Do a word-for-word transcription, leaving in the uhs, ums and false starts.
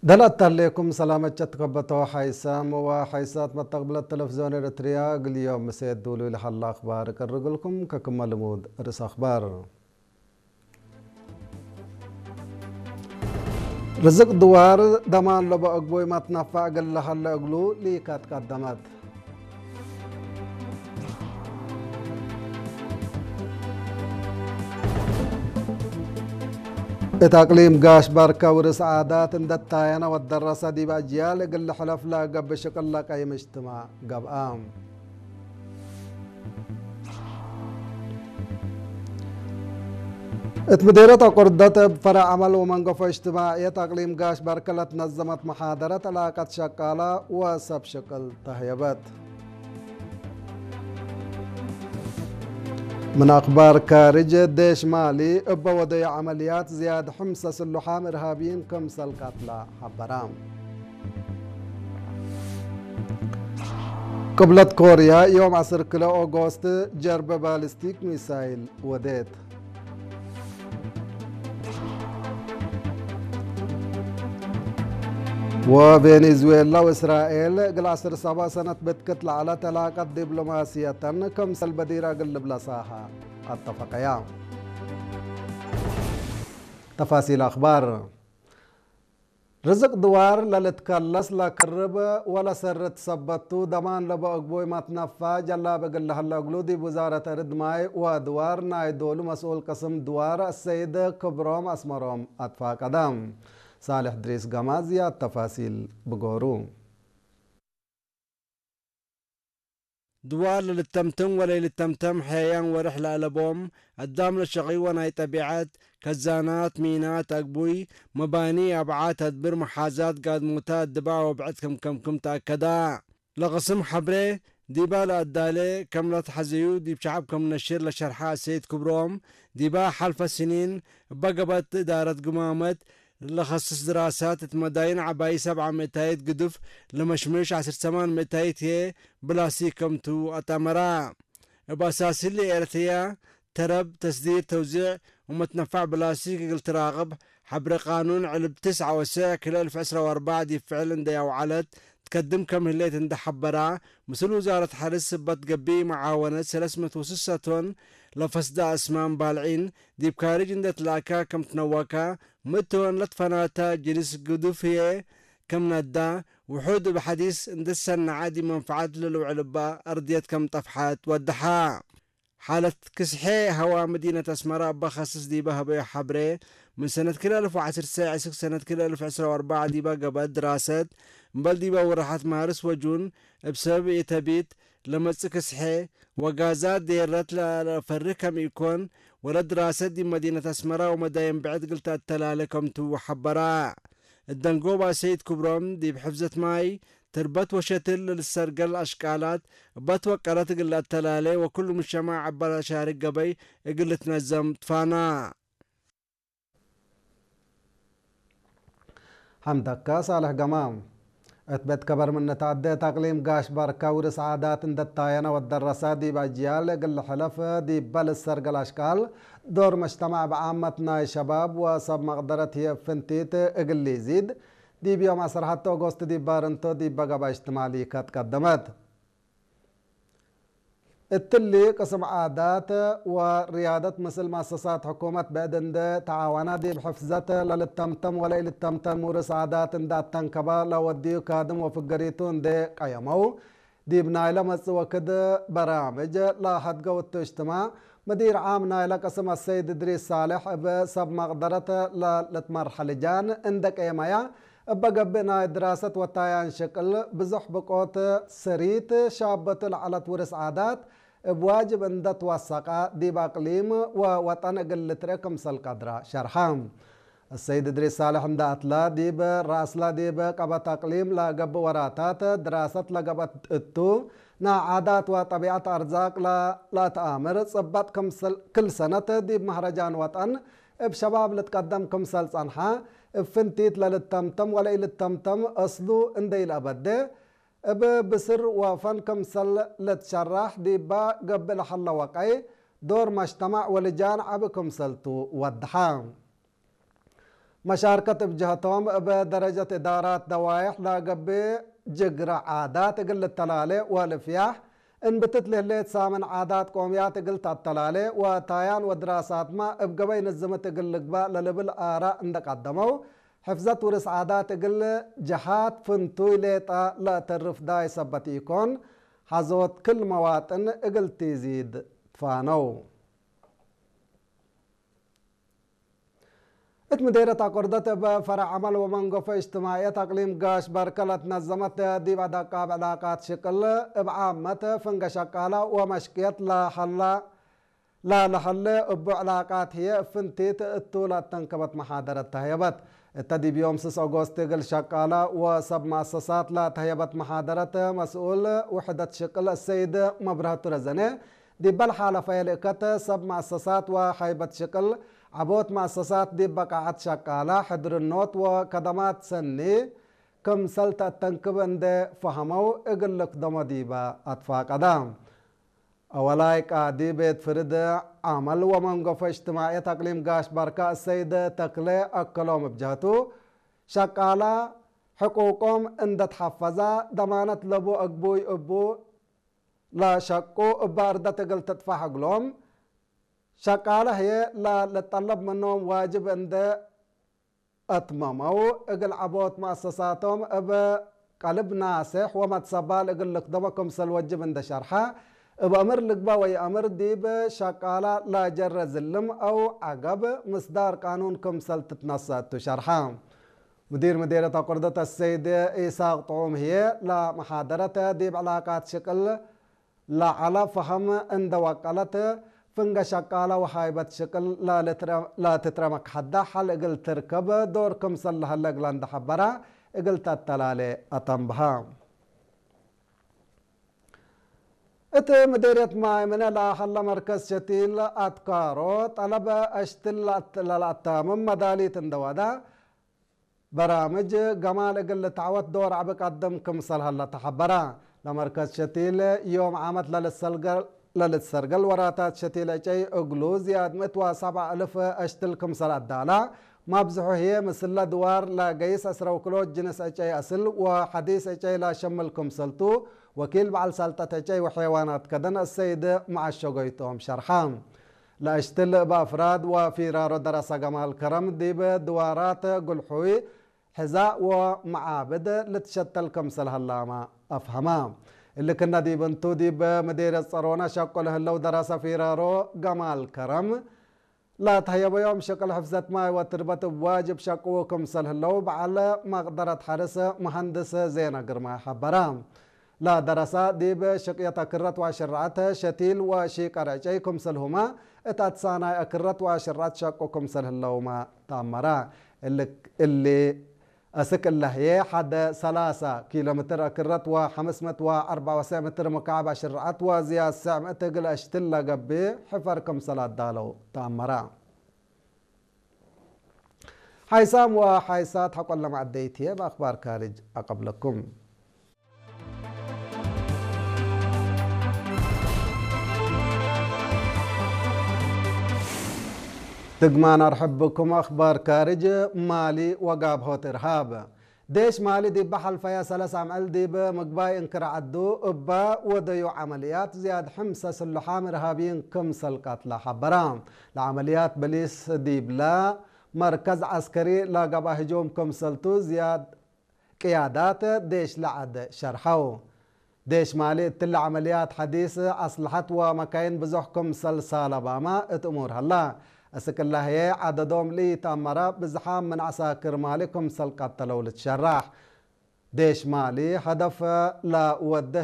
ደል አተህሌኩም ሰላመት ሸትከበቶ ሓይሳም ወሓይሳት መተቅብለት ተለፍዝዮን ኤረትርያ፣ እግል ዮም ምሴት ዱሉይ ለሀለ አክባር እቀርግልኩም። ከክመ ልሙድ ርእስ አክባር። ርዝቅ ድዋር ደማን ለበ አግቡይ መትነፈዕ እግል ለሀለ እግሉ ሊከት ቀደመት። እት አቅሊም ጋሽ ባርከ ውርስ ዓዳት እንደ ታየነ ወደረሰ ዲብ አጅያል እግል ልሕለፍ ለገብእ ሽቅል ለቀይም እጅትማዕ ገብአ። እት ምዴርየት አቁርደት እብ ፈረዕ ዐመል ወመንገፎ እጅትማዕየት አቅሊም ጋሽ ባርከ ለትነዘመት መሓደረት ዕላቀት ሸቃላ ወሰብ ሽቅል ተህየበት። ምን አክባር ካርጅ፣ ዴሽ ማሊ እበ ወደዩ ዐመልያት ዝያድ ሕምሰ ስሉሓም እርሃብይን ክምሰል ቀትለ ሐበራ። ቅብለት ኮርያ፣ ዮም ዐስር ክለ ኦጎስት፣ ጀርበ ባሊስቲክ ሚሳይል ወዴት። ወቬኔዙዌላ ወእስራኤል እግል ዐስር ሰብዕ ሰነት ብትክት ለዐለት ዕላቀት ዲብሎማስየተን ክምሰል በዲረ እግል ልብለሳሀ አተፈቀያ። ተፋሲል አክባር። ርዝቅ ድዋር ለልትከለስ ለክርብ ወለሰርት ሰበት ቱ፣ ደማን ለበ አግቡይ መትነፋዕ ጀላብ እግል ለሀለ እግሉ፣ ዲብ ውዛረት አርድ ማይ ወድዋር ናይ ዶሉ መስኡል ቅስም ድዋር አሰይድ ክብሮም አስመሮም አትፋቀደ። ሳልሕ ድሪስ ገማዝ ዝያድ ተፋሲል ብጎሩ። ድዋር ለልተምተም ወለኢልተምተም ሐያያን ወርሕ ለአለቦም፣ አዳም ለሸቂ ወናይ ጠቢዐት፣ ከዛናት፣ ሚናት፣ አግቡይ፣ መባኒ፣ አብዓት፣ አድብር፣ መሓዛት፣ ጋድሞታት፣ ድባዕ ወብዕድ ክም ከምክም ተአከዳ። ለቅስም ሐብሬ ዲባ ለአዳሌ ከም ለትሐዘዩ ዲብ ሸዐብ ክም ነሽር ለሸርሐ አሰይድ ክብሮም፣ ዲባ ሐልፈ ስኒን እበ ገብአት እዳረት ግማመት፣ ለከስስ ድራሳት እት መዳይን ዐባይ ሰብዓ ምእታይት ግዱፍ ለመሽምሽ ዐስር ሰማን ምእታይት ህዬ ብላስቲክ ከምቱ አትአመራ። እብ አሳስ እሊ ኤረትርያ ተረብ፣ ተስዲር፣ ተውዚዕ ወመትነፋዕ ብላስቲክ እግል ትራቅብ ሐብሬ ቃኑን ዕልብ ትስዐ ወስዕ ክልኤ እልፍ ዕስራ ወአርበዕ ዲብ ፍዕል እንዴ አውዐለት ትከድም ከም ህሌት እንዴ ሐበራ፣ ምስል ውዛረት ሐርስ ስበት ገብእ መዓወነት ሰለስ ምእት ወስሰ ቶን ለፈስዳ አስማም ባልዒን ዲብ ካርጅ እንዴ ትለአካ ከም ትነወካ፣ ምእት ቶን ለትፈናተ ጅንስ ግዱፍ ህዬ ክም ነዳ፣ ውሑድ እብ ሐዲስ እንዴ ትሰነዐ ዲብ መንፈዐት ለልውዕል እበ አርድየት ከም ጠፍሐት ወደሐ። ሓለት ክስሐ ሀዋ መዲነት አስመረ እበ ከስስ ዲበ ሀበዩ ሐብሬ፣ ምን ሰነት ክልኤ እልፍ ወዐስር ሰዕ እስክ ሰነት ክልኤ እልፍ ዕስራ ወአርበዕ ዲበ ገብአት ድራሰት፣ እምበል ዲበ ወረሓት ማርስ ወጁን እብ ሰብብ ኢተቢት ለመጽእ ክስሐ ወጋዛት ዴረት ለፈርህ ከም ኢኮን፣ ወለ ድራሰት ዲብ መዲነት አስመረ ወመዳይን ብዕድ እግል ተአተላሌ ከምቱ ሐበራ። እት ደንጎባ ሰይድ ክብሮም፣ ዲብ ሕፍዘት ማይ፣ ትርበት ወሸትል ለልትሰርገል አሽቃላት እበ ትወቀለት እግል ለአተላሌ ወክሉ ሙጅተማዕ እበ ለአሻርክ ገበይ እግል ልትነዘም ትፋና። ሐምደከ ሳልሕ ገማም። እት ቤት ከበር ምን ተዐዴ፣ እት አቅሊም ጋሽ ባርከ ውርስ ዓዳት እንዴ ታየነ ወደረሰ፣ ዲብ አጅያል እግል ልሕለፍ ዲበ ልትሰርገል አሽቃል፣ ዶር መጅተማዕ ብዓመት ናይ ሸባብ ወሰብ መቅደረት ህዬ ፍንቲት እግል ሊዚድ፣ ዲብ ዮም ዐስር ሐቴ ኦጎስት ዲብ ባርንቶ ዲበ ገብአ እጅትማዕ ሊከት ቀደመት። እትሊ ቅስም ዓዳት ወርያደት ምስል መአሰሳት ሕኩመት ብዕድ እንዴ ተዓወነ፣ ዲብ ሕፍዘት ለልተምተም ወለኢልተምተም ውርስ ዓዳት እንዴ አተንከበ ለወድዩ ካድም ወፍገሪቱ እንዴ ቀየመው፣ ዲብ ናይለ መጽእ ወክድ በራምጅ ለሀድገው እቱ እጅትማዕ፣ መዲር ዓም ናይለ ቅስም አሰይድ እድሪስ ሳልሕ፣ እብ ሰብ መቅደረት ለልትመርሐ ልጃን እንዴ ቄመየ፣ እበ ገብእ ናይ ድራሰት ወታያን ሽቅል፣ ብዙሕ ብቆት ሰሪት ሻበቱ ለዐለት ውርስ ዓዳት፣ እብ ዋጅብ እንዴ ትወሰቀ፣ ዲብ አቅሊም ወወጠን እግል ልትርኤ ክምሰል ቀድረ ሸርሐ። አሰይድ እድሪስ ሳልሕ እንዴ አትለ፣ ዲብ ረአስለ ዲብ ቀበት አቅሊም ለገብእ ወራታት ድራሰት ለገብአት እቱ፣ ናይ ዓዳት ወጠቢዐት አርዛቅ ለ-፣ ለአትአምር ጽበጥ ክምሰል ክል ሰነት ዲብ መህረጃን ወጠን እብ ሸባብ ልትቀደም ክምሰል ጸንሐ፣ እብ ፍንቲት ለልተምተም ወለኢልተምተም አስሉ እንዴ ኢለአበዴ፣ እብ ብስር ወፈን ክምሰል ልትሸራሕ ዲበ ገብእ ለሀለ ወቀይ፣ ዶር መጅተማዕ ወልጃን ዐቢ ክምሰል ቱ ወደሐ። መሻርከት እብ ጀህቶም፣ እብ ደረጀት እዳራት ደዋይሕ ለገብእ ጅግረ ዓዳት እግል ልተላሌ ወልፍያሕ እንብትት ለህሌት ሳምን ዓዳት ቆምያት እግል ተአተላሌ ወታያን ወድራሳትመ እብ ገበይ ንዝምት እግል ልግባእ ለልብል አራእ እንደ ቀደመው፣ ሕፍዘት ውርስ ዓዳት እግል ጀሃት ፍንቱይ ሌጠ ለአተርፍ ዳይ ሰበት ኢኮን፣ ሐዞት ክል መዋጥን እግል ቲዚድ ትፋነው። እት ምዴርየት አቆርደት እብ ፈረዕ ዐመል ወመንገፎ እጅትማዕየት አቅሊም ጋሽ በርከ ለትነዘመት ዲብ አደቃብ ዕላቃት ሽቅል እብ ዓመት ፍንገ ሸቃለ ወመሽቅየት ለሀላ፣ ላለሀለ እቡ ዕላቃት ህዬ እብ ፍንቲት እቱ ለአተንከበት መሓደረት ተህየበት። እተ ዲብ ዮም ስስ ኦጎስት እግል ሸቃለ ወሰብ መአሰሳት ለተህየበት መሓደረት መስኡል ውሕደት ሽቅል እሰይድ መብረህቱ ረዘነ፣ ዲበ ለሓለፈየ ልእከት ሰብ መአሰሳት ወሀይበት ሽቅል ዐቦት መአሰሳት ዲብ በቃዐት ሸቃለ ሕድርኖት ወከደማት ሰኒ ክምሰል ተአተንክብ እንዴ ፈሀመው እግል ልክደሞ ዲበ አትፋቀደ። አወላይ ቃዲ ቤት ፍርድ ዐመል ወመንገፎ እጅትማዕየት አቅሊም ጋሽ በርከ እሰይድ ተክሌ አከሎም እብ ጀህቱ፣ ሸቃለ ሕቁቆም እንደ ተሐፈዘ ደማነት ለቡ አግቡይ እቡ ለሸቁ እበ አርደት እግል ትጥፋሕ እግሎም፣ ሸቃለ ህዬ ለልጠለብ ምኖም ዋጅብ እንደ አትመመው፣ እግል ዐቦት መአሰሳቶም እብ ቀልብ ናሴሕ ወመትሰባል እግል ልክደሞ ክምሰል ወጅብ እንደ ሸርሐ፣ እብ አምር ልግበእ ወይአምር ዲብ ሸቃለ ለጀረ ዝልም አው ዐገብ ምስዳር ቃኑን ክምሰል ትትነሰእ እቱ ሸርሐ። ሙዲር ምዴርየት አቁርደት አሰይድ ኢሳቅ ጥዑም ህዬ፣ ለመሓደረት ዲብ ዕላቃት ሽቅል ለዐለ ፈሀም እንደ ወቀለት፣ ፍንገ ሸቃለ ወሃይበት ሽቅል ለልትረ-፣ ለትትረመክ ሐዳ ሐል እግል ትርከብ ዶር ክምሰል ለሀለ እግለ እንደ ሐበረ፣ እግል ተአተላሌ አተንብሀ። እት ምዴርየት ማይ ምነ ለሀለ መርከዝ ሸቲል አትካሮ፣ ጠለብ አሽትል ለአት-፣ ለለአታምም መዳሊት እንደ ወደ፣ በራምጅ ገማል እግል ልትዐወት ዶር ዐቢ ቀድም ክምሰል ሀለ ተሐበረ። ለመርከዝ ሸቲል ዮም ዓመት ለልትሰልገል-፣ ለልትሰርገል ወራታት ሸቲል ዕጨይ እግሉ ዝያድ ምእት ወሰብዓ እልፍ አሽትል ክምሰል አዳላ፣ መብዝሑ ህዬ ምስለ ድዋር ለገይስ ዕስረ ውክሎት ጅንስ ዕጨይ አስል ወሐዲስ ዕጨይ ለሸምል ክምሰልቱ፣ ወኪል በዐል ሰልጠት ዕጨይ ወሐይዋናት ከደን አሰይድ መዐሸጎ ይቶም ሸርሐ። ለአሽትል እብ አፍራድ ወፊራሮ ደረሰ ገማል ከረም ዲብ ድዋራት ጉልሑይ፣ ሕዛእ ወመዓብድ ልትሸተል ክምሰል ሀላመ አፍሀመ። እሊ ክነ ዲብ እንቱ፣ ዲብ ምዴርየት ጸሮነ ሸቁ ለህለው ደረሰ ፊራሮ ገማል ከረም፣ ለተህየበዮም ሽቅል ሕፍዘት ማይ ወትርበት እብ ዋጅብ ሸቅዉ ክምሰል ህለው በዐል መቅደረት ሐርስ መሀንድስ ዜና ግርማይ ሐበረ። ለደረሰ ዲብ ሽቅየት አክረት ወሽርዐት ሸቲል ወሺቀር ዕጨይ ክምሰልሁመ እት አትሳናይ አክረት ወሽርዐት ሸቁ ክምሰል ህለውመ ተአመረ። እሊ፣ እሊ አስክ እለ ህዬ ሐደ ሰላሳ ኪሎ ሜትር አክረት ወሐምስ ምእት ወአርበዕ ወሰዕ ሜትር ሙካዕብ አሽርዐት ወዝያድ ሰዕ ምእት እግል አሽትል ለገብእ ሕፈር ክምሰል አዳለው ተአመረ። ሓይሳም ወሓይሳት ሐቆለ መዐደይት ህዬ፣ እብ አክባር ካርጅ አቀብለኩም። ድግማን አርሕብ ብኩም። አክባር ካርጅ። ማሊ ወጋብሆት እርሃብ። ዴሽ ማሊ ዲብ ሐልፈየ ሰለስ አምዕል ዲብ ምግባይ እንክር ዐዱ እበ ወደዩ ዐመልያት ዝያድ ሕምሰ ስሉሓም እርሃብይን ክምሰል ቀትለ ሐበረ። ለዐመልያት በሊስ ዲብለ መርከዝ ዐስከሪ ለገብአ ህጁም ክምሰልቱ ዝያድ ቅያዳት ዴሽ ለዐድ ሸርሐው። ዴሽ ማሊ እትለ ዐመልያት ሐዲስ አስለሐት ወመካይን ብዞሕ ክምሰል ሳለባመ እት እሙር ሀላ። እስክ እለ ህዬ ዐደዶም ለኢተአመረ ብዝሓም ምን ዐሳክር ማሊ ክምሰል ቀተለው ልትሸራሕ። ዴሽ ማሊ ሀደፍ ለወዴ